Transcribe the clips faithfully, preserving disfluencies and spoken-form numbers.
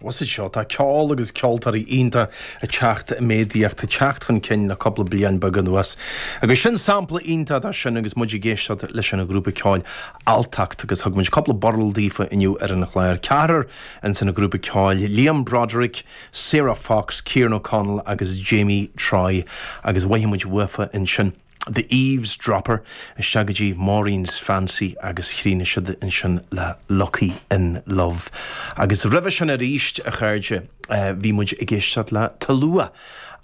What's it seo? Tá ceol agus ceoltóirí iontach ag teacht i méadaíocht, ag teacht chun cinn le cúpla bliain beag anuas. Agus sin sampla iontach de sin agus muid ag éisteacht leis an grúpa ceoil Alltacht agus thug muid cúpla burl daofa inniu ar an chlár. Ceathrar in san grúpa ceoil Liam Broderick, Sarah Fox, Kieran O'Connell agus Jamie Troy agus mhothaigh muid uafa ansin. The Eavesdropper isteach go dtí Maureen's Fancy agus chríochnaigh siad ansin le Lucky in Love. Agus roimhe sin arís a chairde bhí muid ag éisteacht le Tulua.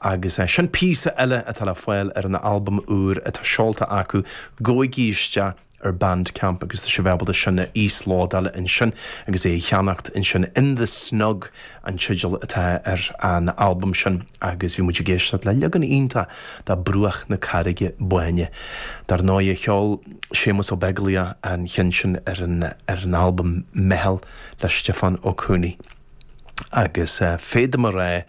agus sin píosa eile atá le fáil ar an albam úr atá seolta acu gabhaigí isteach ar Bandcamp agus tá sibh ábalta sin a íoslódáil ansin agus é a cheannacht ansin In the Snug an teideal atá ar an albam sin agus bhí muid ag éisteacht le leagan iontach de Bruach na Carraige Báine. Dar ndóigh cheol Séamus Ó Beaglaoich an ceann sin ar an ar an albam Meitheal le Stiofán Ó Conaola. Agus uh, féadaim a rá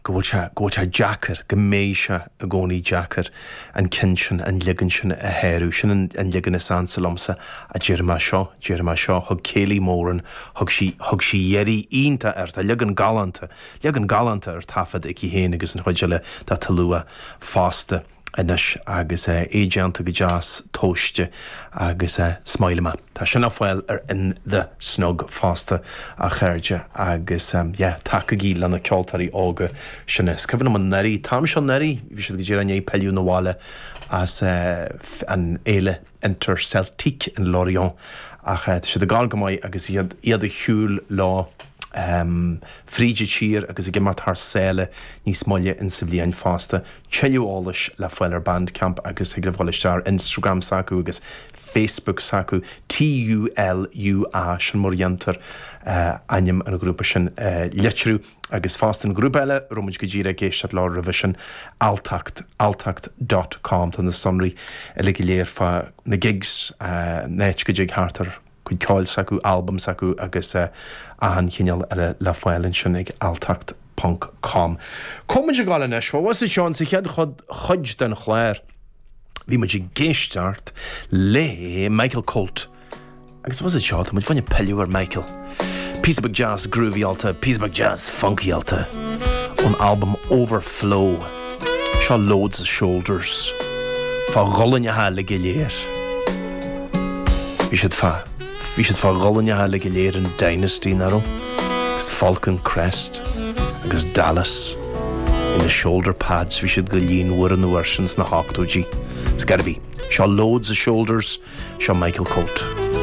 go bhfuil sé go bhfuil sé deacair go mbeidh sé i gcónaí deacair an ceann sin an leagan sin a shárú sin an, an leagan is ansa liomsa a deir mé seo deir mé seo thug Kayleigh Moran thug sí thug sí deireadh iontach air tá leagan galánta leagan galánta ar taifead aici féin agus an chuid eile de Tulua fosta anois agus é déanta go deas tomhaiste agus smileama. Tá sin le fáil ar In the Snug fosta a chairde agus um, yeah, tacaigí le na ceoltóirí óga sin is. Cuimhin an anuraidh tam seo anuraidh, bhí siad go dtí an peileú na bhhaile as uh, an fhéile Interceltique in Lorient ach uh, siad ag gabháil go maith agus iad iad a shiúl lá um, fríd an tír agus ag imeacht thar sáile níos moille in sa bhliain fosta. Tuilleadh eolais le fáil ar Bandcamp agus ag bhil ar Instagram s'acu agus Facebook s'acu T U L U A sin mar dhéantar uh, ainm an grúpa sin uh, litriú agus fosta an grúpa eile a raibh muid go díreach ag éisteacht leo roimhe sin alltacht alltacht dot com tá na sonraí uilig go léir fá na gigs uh, net go dtig thart ar chuid ceoil s'acu albam s'acu agus uh, achan chineál eile le fáil ansin ag alltacht dot com. Comid gáil anois, was seo sa chéad chuid den chlár. Bhí muid ag éisteacht le Michael Colt. Agus was seo muid fáinne pilleadh ar Michael. Píosa beag jazz groovy-áilte, píosa beag jazz funky-áilte ón album Overflow. Seo Loads of Shoulders. Fá ghuailneacha le go léir. Bhí siad fá Bhí siad fá ghuailneacha le go léir an Dynasty nach raibh, agus Falcon Crest agus Dallas in the shoulder pads bhí siad go líonmhar an uair sin sna hochtóidí. Scarabí. Seo Loads of Shoulders, seo Michael Colt.